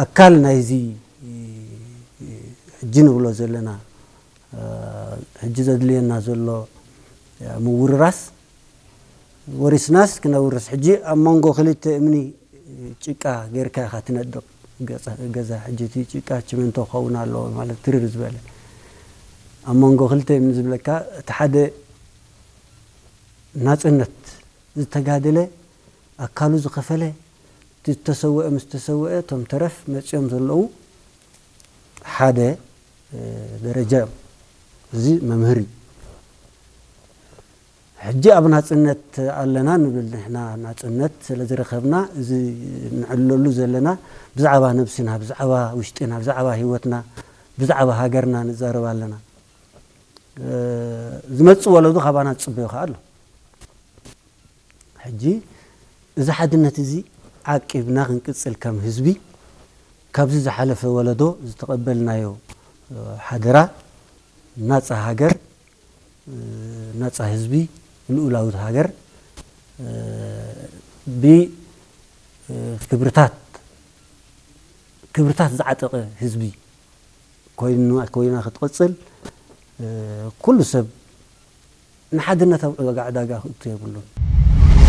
ኣካል ናይዚ ሕጂ ንብሎ ዘለና ሕጂ ዘድልየና ዘሎ ምውርራስ ወሪስናስ ክነውርስ ሕጂ ኣብ መንጎ ክልተ እምኒ ጭቃ ጌርካ ኢኻ ትነድቕ ገዛ ሕጂ እቲ ጭቃ ችመንቶ ክኸውን ኣለዎ ማለት ትርር ዝበለ ኣብ መንጎ ክልተ እምኒ ዝብለካ እቲ ሓደ ናፅነት ዝተጋደለ ኣካሉ ዝኸፈለ ዝተሰወአ ምስ ተሰወአ እቶም ተረፍ መፂኦም ዘለዉ ሓደ ደረጃ እዮም። እዚ መምህር እዩ። ሕጂ ኣብ ናፅነት ኣለና ንብል ንሕና ናፅነት ስለ ዝረኸብና እዚ ንዕለሉ ዘለና ብዛዕባ ነብስና ብዛዕባ ውሽጥና ብዛዕባ ህይወትና ብዛዕባ ሃገርና ንዛረብ ኣለና። ዝመፅእ ወለዶ ካባና ዝፅበዮ ከዓ ኣሎ። ሕጂ እዚ ሓድነት እዚ ዓቂብና ክንቅፅል ከም ህዝቢ ካብዚ ዝሓለፈ ወለዶ ዝተቐበልናዮ ሓደራ ናፃ ሃገር ናፃ ህዝቢ ልኡላዊት ሃገር ብክብርታት ክብርታት ዝዓጠቐ ህዝቢ ኮይና ክትቕፅል ኩሉ ሰብ ንሓድነት ኣብ ዋጋ ዕዳጋ ክእቱ የብሉን።